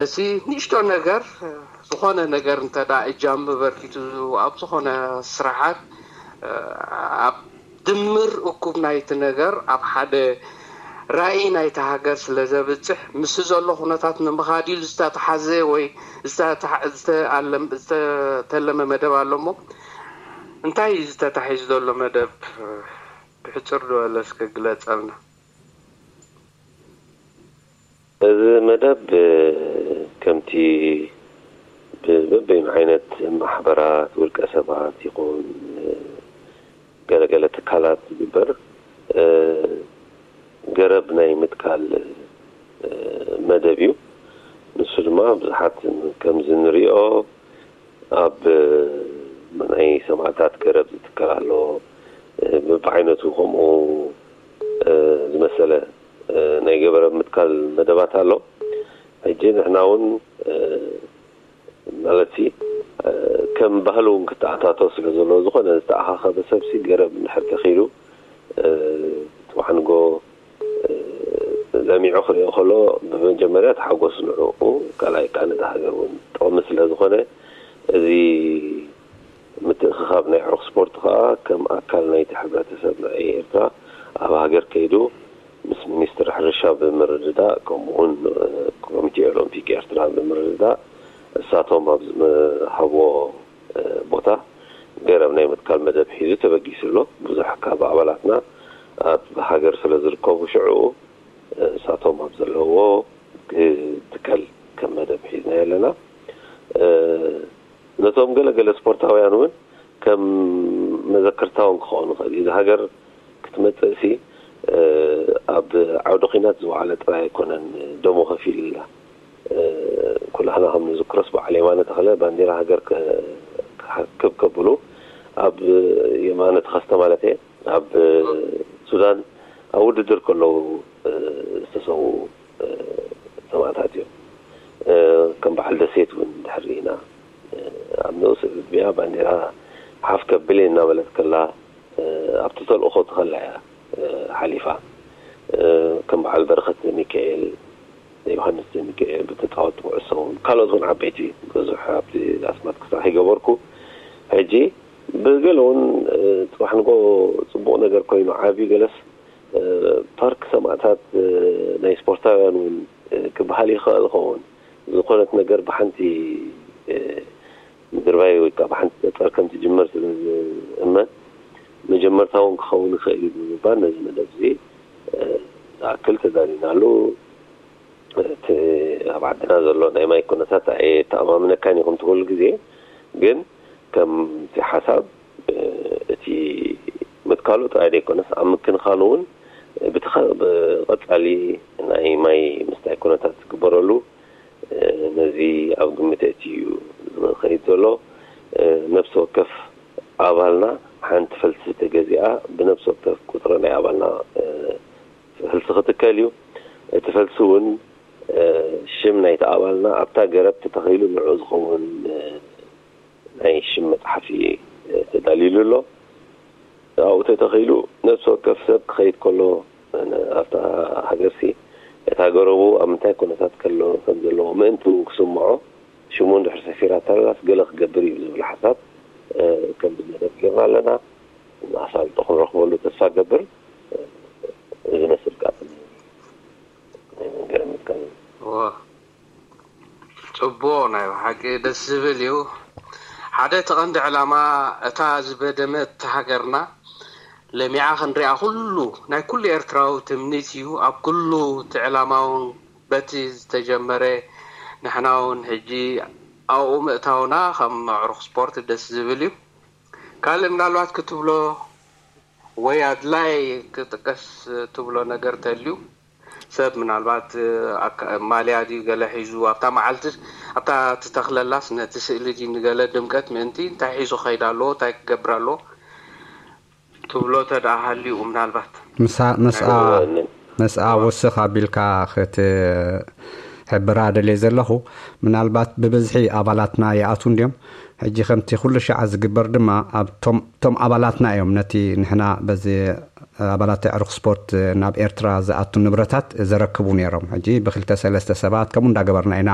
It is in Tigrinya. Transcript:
እዚ ንእሽቶ ነገር፣ ዝኾነ ነገር እንተ ደኣ እጃም በርኪቱ ኣብ ዝኾነ ስራሓት፣ ኣብ ድምር እኩብ ናይቲ ነገር ኣብ ሓደ ራእይ ናይቲ ሃገር ስለ ዘብጽሕ፣ ምስ ዘሎ ኩነታት ንምኻድ ኢሉ ዝተተሓዘ ወይ ዝተተሓ-፣ ዝተኣለም-፣ ዝተተለመ መደብ ኣሎ እሞ፣ እንታይ እዩ ዝተታሒዙ ዘሎ መደብ? ብሕጽር ዝበለ እስከ ግለጸልና። እዚ መደብ ከምቲ በበይኑ ዓይነት ማሕበራት፣ ውልቀ ሰባት ይኹን ገለገለ ትካላት ዝግበር ገረብ ናይ ምትካል መደብ እዩ። ንሱ ድማ ብዙሓት ከምዚ ንሪኦ ኣብ ናይ ሰማእታት ገረብ ዝትከል ኣሎ። ብዓይነቱ ከምኡ ዝመሰለ ናይ ገረብ ምትካል መደባት ኣሎ። ሕጂ ንሕና እውን ማለት ሲ ከም ባህሊ እውን ክተኣታቶ ስለ ዘለዎ፣ ዝኾነ ዝተኣኻኸበ ሰብሲ ገረብ እንድሕር ተኺሉ ጽባሕ ንጎ ለሚዑ ክሪኦ ከሎ ብመጀመርያ ተሓጎስ ንዕኡ፣ ካልኣይ ከዓ ነቲ ሃገር እውን ጥቕሚ ስለ ዝኾነ፣ እዚ ምትእኽኻብ ናይ ዕሩኽ ስፖርት ከዓ ከም ኣካል ናይቲ ሕብረተሰብ ናይ ኤርትራ ኣብ ሃገር ከይዱ ምስ ሚኒስትሪ ሕርሻ ብምርድዳእ፣ ከምኡ እውን ኮሚቴ ኦሎምፒክ ኤርትራ ብምርድዳእ፣ እሳቶም ኣብ ዝሃብዎ ቦታ ገረብ ናይ ምትካል መደብ ሒዙ ተበጊሱ ኣሎ። ብዙሕ ካብ ኣባላትና ኣብ ሃገር ስለ ዝርከቡ፣ ሽዑ እሳቶም ኣብ ዘለውዎ ክትከል ከም መደብ ሒዝናዮ ኣለና። ነቶም ገለገለ ስፖርታውያን እውን ከም መዘክርታ እውን ክኸውን ይኽእል እዩ። እዚ ሃገር ክትመጽእሲ ኣብ ዓውደ ኲናት ዝወዓለ ጥራይ ኣይኮነን ደሙ ከፊሉላ። ኩላህና ከም ንዝክሮስ በዓል የማነ ተኽለ ባንዲራ ሃገር ክሓክብ ከብሉ ኣብ የማነ ተኸስተ ማለት እየ ኣብ ሱዳን ኣብ ውድድር ከለዉ ዝተሰዉ ሰማእታት እዮም። ከም በዓል ደሴት እውን ድሕር ኢና ኣብ ንኡስ ዕድሚኣ ባንዴራ ሓፍ ከብል እናበለት ከላ ኣብቲ ተልእኾ ትኸላ እያ ሓሊፋ። ከም በዓል በረኸት ሚካኤል፣ ዮሃንስ ሚካኤል ብተጻወትቲ ኩዕሶ እውን ካልኦት እውን ዓበይቲ ብዙሕ ኣብቲ ኣስማት ክሳዕ ከይገበርኩ ሕጂ ብገለ እውን ጽባሕ ንጎ ጽቡቕ ነገር ኮይኑ ዓብዩ ገለስ ፓርክ ሰማእታት ናይ ስፖርታውያን እውን ክበሃል ይኽእል ይኸውን። ዝኾነት ነገር ብሓንቲ ምድርባይ ወይ ከዓ ብሓንቲ ጠጠር ከም ትጅመር ስለ ዝእመን መጀመርታ እውን ክኸውን ይኽእል እዩ ብምባል ነዚ መደብ እዚ ዝኣክል ተዳሊናሉ። እቲ ኣብ ዓድና ዘሎ ናይ ማይ ኩነታት ኣየተኣማምነካን እዩ ከምቲ ኩሉ ግዜ፣ ግን ከምቲ ሓሳብ እቲ ምትካሉ ጥራይ ዘይኮነስ ኣብ ምክንኻኑ እውን ብተኸ- ብቐጻሊ ናይ ማይ ምስታይ ኩነታት ዝግበረሉ ነዚ ኣብ ግምት ኣእትዩ እዩ ዝኸይድ ዘሎ። ነብሲ ወከፍ ኣባልና ሓንቲ ፈልሲ ተገዚኣ ብነብሲ ወከፍ ቁጽሪ ናይ ኣባልና ፈልሲ ክትከል እዩ። እቲ ፈልሲ እውን ሽም ናይቲ ኣባልና ኣብታ ገረብ ተተኺሉ ንዑ ዝኸውን ናይ ሽም መፅሓፊ ተዳልዩሉ ኣሎ። ኣብኡ ተተኺሉ ነብሲ ወከፍ ሰብ ክኸይድ ከሎ ኣብታ ሃገርሲ እታ ገረቡ ኣብ ምንታይ ኩነታት ከሎ ከም ዘለዎ ምእንቲ እውን ክስምዖ ሽሙ እንድሕር ሰፊራ ተላስ ገለ ክገብር እዩ ዝብል ሓሳብ ከም ዝመደብ ጌርና ኣለና። ኣሳልጦ ክንረኽበሉ ተስፋ ገብር። እዚ መስል ቃ ናይ መንገር ምትካል እዩ። ጽቡቕ ናይ ብሓቂ ደስ ዝብል እዩ። ሓደ እቲ ቀንዲ ዕላማ እታ ዝበደመት ሃገርና ለሚዓ ክንሪኣ ኩሉ ናይ ኩሉ ኤርትራዊ ትምኒት እዩ። ኣብ ኩሉ እቲ ዕላማ እውን በቲ ዝተጀመረ ንሕና እውን ሕጂ ኣብኡ ምእታውና ከም ኣዕሩኽ ስፖርት ደስ ዝብል እዩ። ካልእ ምናልባት ክትብሎ ወይ ኣድላይ ክጥቀስ ትብሎ ነገር ተልዩ ሰብ ምናልባት ማልያ ድዩ ገለ ሒዙ ኣብታ መዓልቲ ኣብታ ትተኽለላስ ነቲ ስእሊ ድዩ ንገለ ድምቀት ምእንቲ እንታይ ሒዙ ክኸይድ ኣለዎ እንታይ ክገብር ኣለዎ ትብሎ ተደኣ ሃልዩ ምናልባት ምስኣ ወስኽ ኣቢልካ ክትሕብራ ደልየ ዘለኹ ምናልባት ብብዝሒ ኣባላትና ይኣትዉ እንድዮም ሕጂ ከምቲ ኩሉ ሻዕ ዝግበር ድማ ኣብቶም ኣባላትና እዮም ነቲ ንሕና በዚ ኣባላት ኣዕሩኽ ስፖርት ናብ ኤርትራ ዝኣቱ ንብረታት ዘረክቡ ነይሮም። ሕጂ ብክልተ ሰለስተ ሰባት ከምኡ እንዳገበርና ኢና